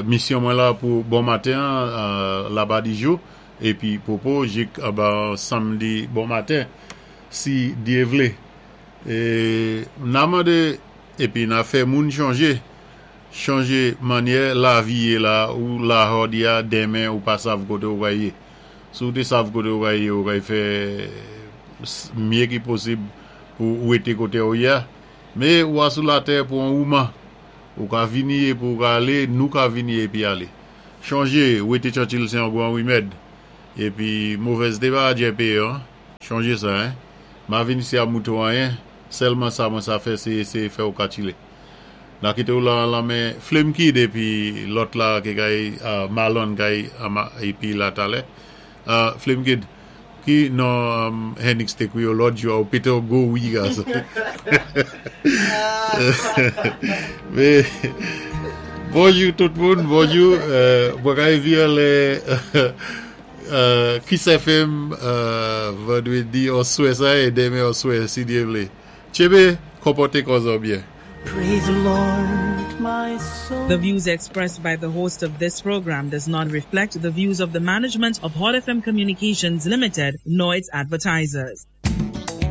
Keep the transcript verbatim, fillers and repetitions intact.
Misyon mwen la pou bon maten laba di jou épi popo jik samdi bon maten si Dye vlé. Na mandé épi na fè moun chonjé, chonjé mannyè lavi yé la ou la jòdi a denmen ou pa sav koté ou pway yé. Si ou té sav koté ou pway yé ou pway fè mye ki posib pou wété koté ou yé a. Mé ou a sou latè pou an wouman. Ou ka vini épi ou ka alé, nou ka vini épi alé. Chonjé, wété trankil sé an gwan wimèd. Épi movèzté pa djé péyé, chonjé sa, hein. Ma vini isi a mouté ou anyen, sèlman sa mwen sa fè sé éséyé fè ou ka tchilé. Na kité ou la lan men Flame Kid épi lòt la ki kay Malon kay épi la talè. Flame Kid, ki non Henix té kwiyé ou lòt jou ou pété ou go wi gason. Mé, bonjou tout moun, bonjou. Mwen kay vi lè Kiss F M vandwédi oswè sa é denmen oswè si Dye vlé. Tchébé, konpòté kò zòt byen. Praise the Lord, my soul. The views expressed by the host of this program does not reflect the views of the management of Hot F M Communications Limited nor its advertisers.